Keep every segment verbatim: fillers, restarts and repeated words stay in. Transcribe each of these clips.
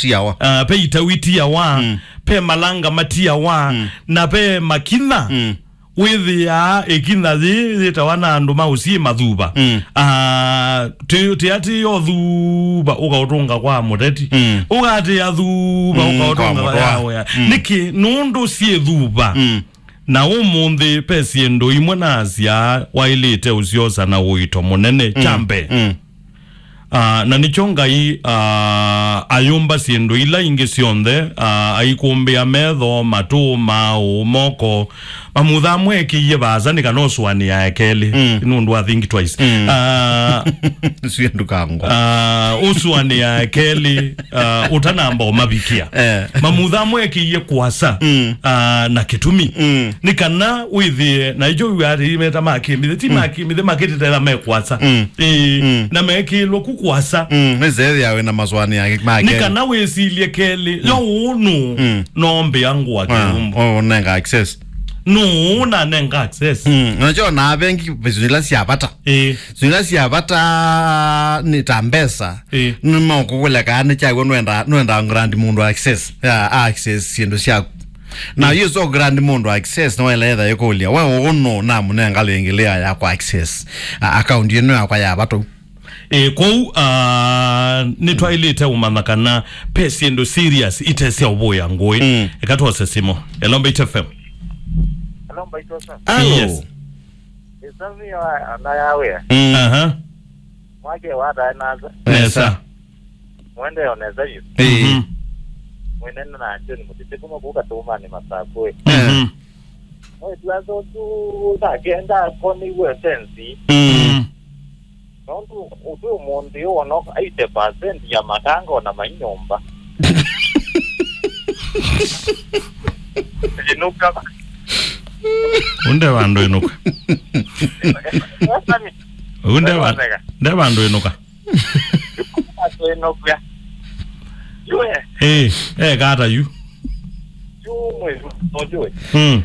tiawa. Ah, pe itau itiawa, mm, pe malanga matiawa, mm, na pe makinya. Mm. Wĩthĩaa ĩkinya yĩĩ yĩtawa na andũ ma ũsyĩ mathuva. Mm. Ah, tĩ-, tĩatĩĩa ũthuva ũkaũtũnga kwa mũteti. Mm. Ũkatĩĩa thuva, mm, ũkaũtũnga kwa mũtwa. Yawe. Mm. Nĩkĩ? Nũndũ syĩ thuva. Mm. Na ũmũnthĩ, ve syĩndũ imwe nasya waĩlĩte ũsyosa na ũito mũnene. Mm. Kya mbee. Mm. Ah, na nĩkyo Ngai, ah, ayũmba syĩndũ ila ingĩ syonthe, ah, aikũmbĩa metho, matũ, maaũ, moko, mamutha amwekĩie vaasa nĩ kana ũsũanĩae kelĩ. Mm. Nũndũ wa think twice. Mm. Ah, syĩndũ kango. Ah, ũsũanĩae kelĩ, ah, ũtanamba ũmavikia. Eh. Mamutha amwekĩie kũasa, mm, ah, na kĩtumi. Mm. Nĩ kana wĩthĩe, na ĩkyo wĩw'a atĩ meta makĩmbĩthĩ, ti, mm, makĩmbĩthĩ, makĩtĩtela me kũasa. Mm. Ĩĩ, mm, na mekĩĩlwe ku kũasa. Mm, nĩsethĩa wĩ na masũanĩo make. Nĩ kana wĩsilye kelĩ, mm, yo ũũ nũũ, mm, noombĩa ngũa, ah, kĩumbo. Oh, ũnenga access. Nũũ nanenga access? Mm, nakyo na avengi vision ila sya vata. Ĩĩ. Vision ila sya vata nĩ ta mbesa. Ĩĩ. Nĩmaũkũkũlya kana nĩ kyaw'o nũenda, nũenda grant mũndũ access. Ya, access syĩndũ syaku. Na, mm, yu so grant mũndũ access, no ĩla etha ĩkũlya, we ũũ nũũ namũnenga lĩngĩ layer ya kwa access, a, account ĩno yakwa ya vata? Ĩ, kwoou, ah, nĩtwaĩlĩte ũmanya kana ve syĩndũ serious ite sya ũvũĩa ngũĩ. Mm. Eka twose simũ. Hello, Mbaitu F M. Hello, Mbaitu F M. Hello. Yes. Ĩsavi ya ana ya wĩa. Mm. Aha. Mwake watae nasa. Nesa. Mwende onesa yu. Ĩĩ. Mhm. Mwinene na John Mutiti kuma kuka Tumani Masakwe. Mhm. Mwetu aso tu takenda koni we sensi. Mm. Mm. Nondu ũtwi ũmũnthĩ ũonoka eighty percent ya makanga ona mai nyũmba. Ĩnũka. Ũnde vandũ ĩnũka. Sami. Ũnde va-, nde vandũ ĩnũka. Ĩnũka. Yue. Eh, eh, kata yu. Yu mwezi, unajua. Mm.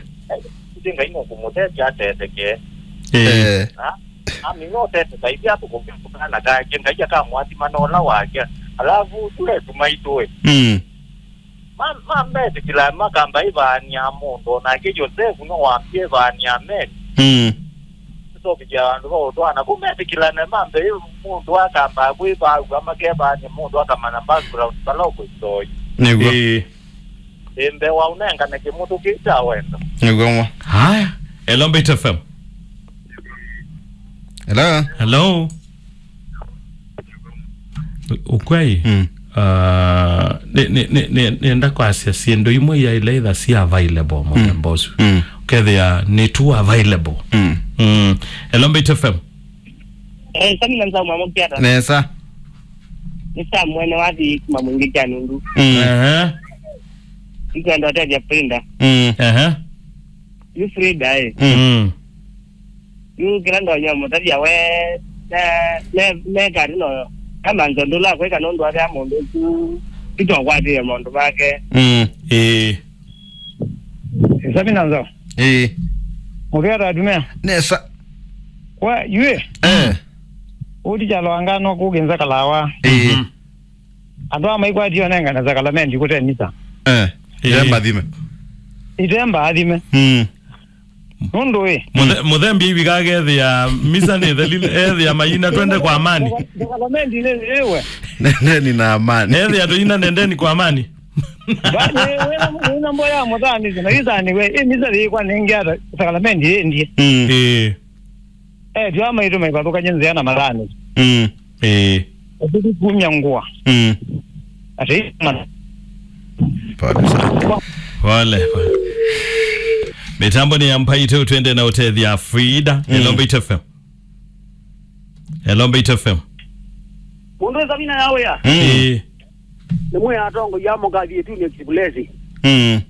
Ngai no kũmũtethya ateteke. Eh. Eh. Na, ami no tete Ngai pia tũkũkana kake, Ngai akamwathima na ũla wake. Alafu tule tumaitũe. Mm. Ma, ma metĩkĩla makamba ĩvaania mũndũ, onake Yosevu no wambie ĩvaania amen. Mm. Tũtovikya andũ va ũtwana. Kũ metĩkĩlane mambe ĩ mũndũ akamba kwĩvaaw'a makevaania mũndũ akamanya background vala ũkũitoi. Nĩguo. Ĩĩ. Ĩmbe wa ũnengane kĩmũtũ kĩu kya wendo. Nĩguo mo. Haya. Hello, Mbaitu F M. Hello. Hello. Ukwai. Mm. Ah, nĩ, nĩ, nĩ, nĩ, nĩenda kwasya syĩndũ imwe ya ila itha si available mũthemba ũsu. Mm. Ũkethĩa nĩ too available. Mm. Mm. Hello, Mbaitu F M. Eh, Sami na Nzau mamũkiata. Nesa. Nĩ Sam mwene wa thi kuma mwingĩ kya nundu. Mm. Ehe. Nkwenda ũtethya Frida. Mm. Ehe. Yu Frida, eh. Mm. Mm. Yu kĩla ndonya mũtavya we, ne, ne, ne kati no, kamanzo ndũla kwĩka nũndũ avea mũndũ ũsu, itwakwatĩe maũndũ make. Mm. Ĩĩ. Sami na Nzau. Ĩĩ. Mũvea ta atumĩa. Nesa. Kwa, yue. Eh. Ũti kyalo angano kũkĩnza kalawa. Ĩĩ. Mhm. Andũ aa maikwatie onengane sakalamendi kũte misa. Eh, ĩĩ. Ite mbathime. Ite mbathime. Mm. Nũndũ ĩ. Mũthe-, mũthembi ivi kakethĩa misa nĩ theli, ethĩa mayina twende kwa amani. Sakalamendi nĩ ĩwe. Nendeni na amani. Ethĩa tũyina nendeni kwa amani. Bani, wĩna, wĩna mboya mũthanĩsyo, na ĩthanĩwe, ĩ misa yĩkwa nĩngĩ ata sakalamendi ĩndie. Mm. Ĩĩ. Eh, tyo amaitũ maivathũkany'e nzĩa na mathani. Mm. Ĩĩ. Ũtũtũ kumya ngũa. Mm. Ati mana. Pole sana. Pole, pole. Mĩtambo nĩ ya Mbaitu, twende na ũtethya Frida. Mm. Hello, Mbaitu F M. Hello, Mbaitu F M. Mũndũ ĩsa mina ya wĩa. Mm. Ĩĩ. Nĩ mwĩ atongoia mũkathi ĩtunĩ kĩvulesi. Mm.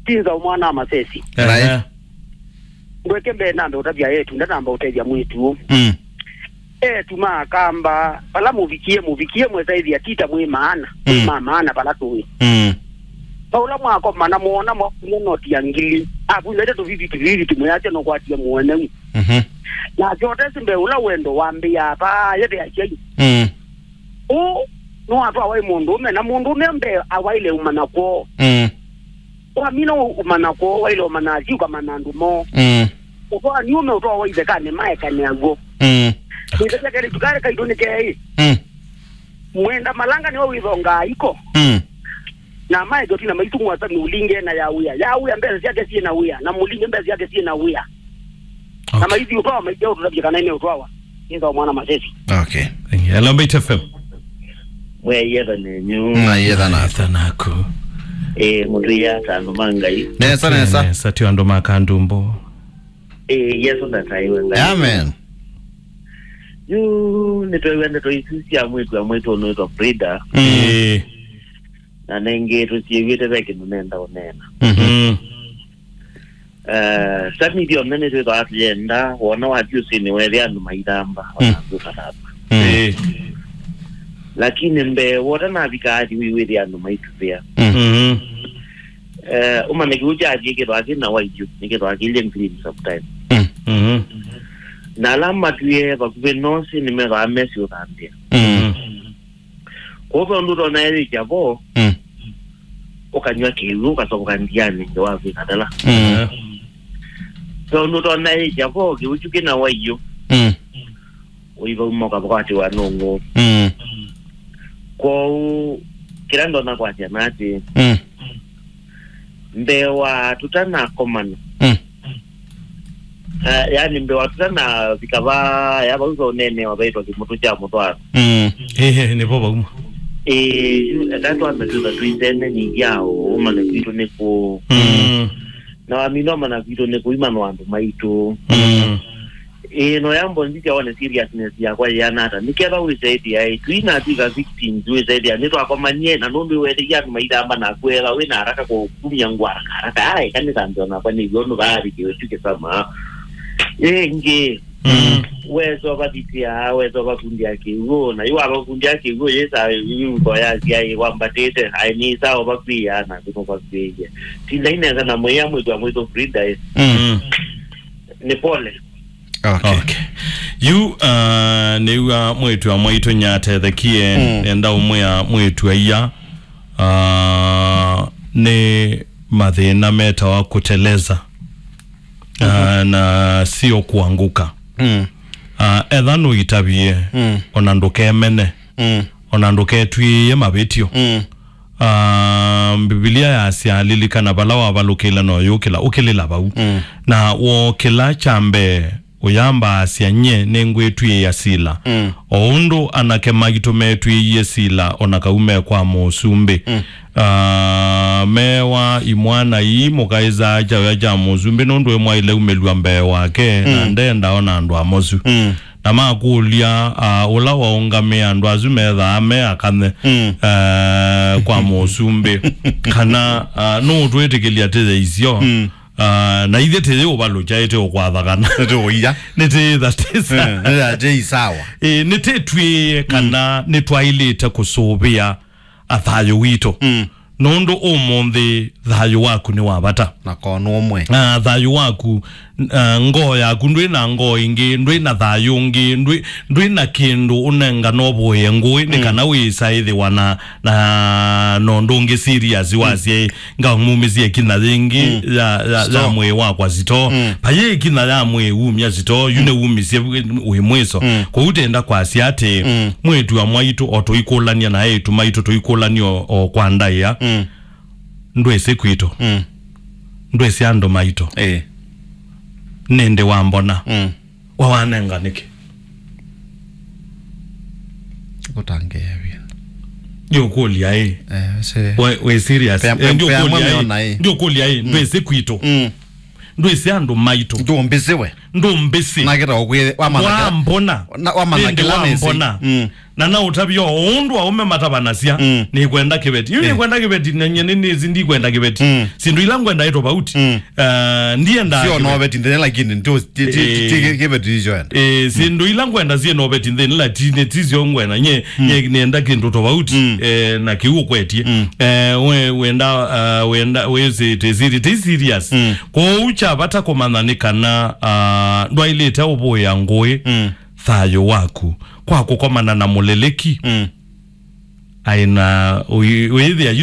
Tinza mwana wa masesi. Ehe. Ndweke mbee nambe ũtavya etu, ndanamba ũtethya mwĩtu ũũ. Mm. Etu ma Akamba, vala mũvikie, mũvikie mwesaĩthya tita mwĩ maana, mwĩ, mm, ma maana vala tũĩ. Mm. Vaũla mwakomana mwona mwakunya noti ya ngili, akunyaite tũvivi tũvivi tũmwĩasya nũkwatie mũeneu. Mhm. Nake ũtesi mbee ũla wendo wambĩaa paa yethe asyai. Mm. Ũ Nĩwatwawa ĩ mũndũũme, na mũndũũme mbee awaĩle ũmanya kwoo. Mm. Wamina ũ-, ũmanya kwoo, waĩle ũmanya asyai, ũkamanya andũ moo. Mm. Ũtwaa nĩ ũme ũtwawa ithekanĩ, maekane aw'o. Mm. Nĩthesia kelĩ tukarĩ kaitũ nĩ keĩ. Mm. Mwenda malanga nĩwe wĩthongaa iko. Mm. Na maeke ũtina maitũ ngwata nũlinge na ya wĩa. Ya wĩa mbesa syake syĩ na wĩa, na mũlinge mbesa syake syĩ na wĩa. Na okay. Maithi ũtwawa, maithya ũtũtavya kana ine ũtwawa. Nĩtha mwana masesi. Okay. Thank you. Hello, Mbaitu F M. Mweyetha nenyu. Na yetha na. Etha naku. Eh, mũtwĩya ta andũ ma Ngai. Nesa, nesa. Nesa, tio andũ ma kandumbo. Eh, Yesu ndataiwe Ngai. Amen. Yu, nĩtwew'a ndeto isu sya mwĩtu wa mwĩtu ũnũĩtwa Frida. Mm. Eh. Na nengĩ tũsiĩw'ĩte ve kĩndũ nenda ũneena. Mhm. Mm. Eh, sami ithyonthe nĩtwĩthaa tũyenda, wona wathi ũsĩnĩ wethĩa andũ maithamba, mm, ona andũ ũkathamba. Mm. Ĩĩ. Lakini mbee wota navika athi wĩwĩthĩa andũ maituvĩa. Mm. Mhm. Eh, ũmanye kĩu kyathi kĩthwaa kĩ na waityu, nĩkĩthwaa kĩilye green sometime. Mm. Mhm. Na ala matwie vakuvĩ nosi nĩmethwaa mesi ũthambĩa. Mm. Mhm. Kwoou ve ũndũ ũtonya ĩkya vo, mm, ũkanyw'a kĩw'ũ, ũkasovoka ndianĩ nthĩ wa kwĩkatala. Mm. Ve ũndũ ũtonya ĩkya vo, kĩw'ũ kyu kĩna waiyũ. Mm. Ũivauma ũkavakwatĩwa nũng'ũ. Mm. Kwoou, kĩla ndonya kwasya na atĩ, mm, mbee wa tũtanakomana. Mm. Ah, yani mbee wa tũtanavika va, ya vau ve ũneenewa vaitwa kĩmũtũ kya mũtwaano. Mm. Ĩĩ, nĩvo vauma. Ĩĩ, yu, eka twambe twĩtha tũisene nĩthyao, ũmanye kwitũ nĩ kũũ. Mm. Na wamina ũmanya kwitũ nĩ kũu, imanya andũ maitũ. Mm. Ĩĩ, no yambo nzisya one seriousness yakwa yĩana ata. Nĩketha wĩsaĩthĩa, ĩ, twĩna twĩka victims, wĩsaĩthĩa, nĩtwakomanie, na nũndũ wĩweteie andũ maithamba na kwetha, wĩna haraka kũ-, kumya ngũ haraka haraka. Ai, kanitha ndio nakwa nĩ yo nũvaarĩkĩwe tu kĩsama. Ĩngĩ, mm, wesa ũvathitĩa, wesa ũvakundĩa kĩw'ũ, na yu wavakundĩa kĩw'ũ, yĩsa yu ngo yasya ĩ wambatĩte, ai nĩ sawa vakwĩa, na kũno vakwĩie. Tinda inenza na mwĩa mwĩtwa mwĩtũ Frida, ĩ. Mm. Nĩ pole. Okay. Okay. Yu, uh, nĩw'a mwĩĩtu wa mwaitũ nyatethekie, mm, nenda ũmwĩa mwĩĩtu aia, uh, nĩ mathĩna metawa kuteleza, uh, mhm, na sio kuanguka. Mm. Uh, etha nũitavie, mm, ona ndũkemene, mm, ona ndũketw'ĩĩe mavĩtyo. Mm. Ah, Mbivilia yasya, "Lilikana vala wavalũkĩle na ũyũkĩla, ũkĩlĩla vau." Mm. Na wookĩla kya mbee, ũyambaasya, "Nyie nĩngwĩtw'ĩĩa sila." Mm. O ũndũ anake maitũ metw'ĩĩie sila, o na kau me kwa mũsumbĩ. Mm. Ah, meewa imwana ii mũkaĩsaa kyaũya kya mũsumbĩ, nũndũ ĩmwaĩle umĩlw'a mbee wake, na, mm, ndenda ona andũ amosu. Mm. Na makũlya, ah, ũla waũngamĩe andũ asu methaa me akane, mm, eh, kwa mũsumbĩ, kana, ah, nũũtwĩtĩkĩlya tĩye isyo, mm, ah, na ithyĩ tĩyĩ ũvalũkya ĩte ũkwatha kana nĩtũũia. Nĩtĩĩtha tĩsa. Eh, nĩyatĩ isawa. Ĩ, nĩtĩtwĩe kana, mm, nĩtwaĩlĩte kũsũvĩa a thayũ witũ. Mm. Nũndũ ũmũnthĩ thayũ waku nĩ wa vata. Na konũ ũmwe. Ah, thayũ waku, ah, ngoo yaku, ndwĩ na ngoo ĩngĩ, ndwĩ na thayũ ũngĩ, ndwĩ, ndwĩ na kĩndũ ũnengana ũvũĩe ngũĩ, nĩ, mm, kana wĩĩsa ĩthĩwa na, na, na ũndũ ũngĩ serious, mm, wasya, "Ngamumĩsye ĩkinya yĩngĩ, mm, ya, ya, ya mwĩĩ wakwa sitoo." Mm. Vayĩ ĩkinya ya mwĩĩ umya sitoo, yu, mm, nĩwumisye wĩ, wĩ mwĩso. Mm. Kwoou tenda kwasya atĩ, mm, mwĩĩtu wa mwaitũ o tũikũlany'a na eĩtu maitũ tũikũlany'a o, o kwa ndaĩa. Mm. Ndwĩsĩ kwitũ. Mm. Ndwĩsĩ andũ maitũ. Ĩĩ. Nĩndĩ wambona. Mm. Wa wanenga nĩkĩ? Kũtangĩĩa wĩna. Ndiũkũlya ĩ. Eh, se. We, we serious? Pea-, eh, pea-, ndiũkũlya ĩ. Ona ĩ. Ndiũkũlya ĩ. Mm. Ndwĩsĩ kwitũ. Mm. Ndwĩsĩ andũ maitũ. Ndũmbĩsĩ we. Ndũmbĩsĩ. Na kĩta ũkwĩthĩ, wamanya kĩla. Wambona. Na wamanya kĩla nĩsĩ. Wambona. Mm. Na naũtavya o ũndũ aũme matavanasya, mm, nĩkwenda kĩveti. Yu, eh, nĩkwenda kĩveti, na nyie nĩ, nĩsĩ ndikwenda kĩveti. Mm. Syĩndũ ila ngwenda ĩ tofauti. Mm. Ah, ndienda sio kĩveti. No veti nthĩnĩ, lakini ndio ti, ti, ti, eh, ti kĩveti icio enda. Eh, mm, syĩndũ ila ngwenda syĩ no veti nthĩnĩ, lakini ti sio ngwenda. Nye, mm, nye nĩenda kĩndũ tofauti. Mm. Eh, na kĩu ũkwetie. Mm. Eh, we, wenda, ah, wenda, wĩsĩ, tĩsiri, ti serious. Mm. Kwoou kya vata kũmanya nĩ kana, ah, ndwaĩlĩte ũvũĩa ngũĩ, mm, thayũ waku kwa kũkomana na mũlĩlĩki. Mm. aĩ na ũi-, ũyĩthĩa yu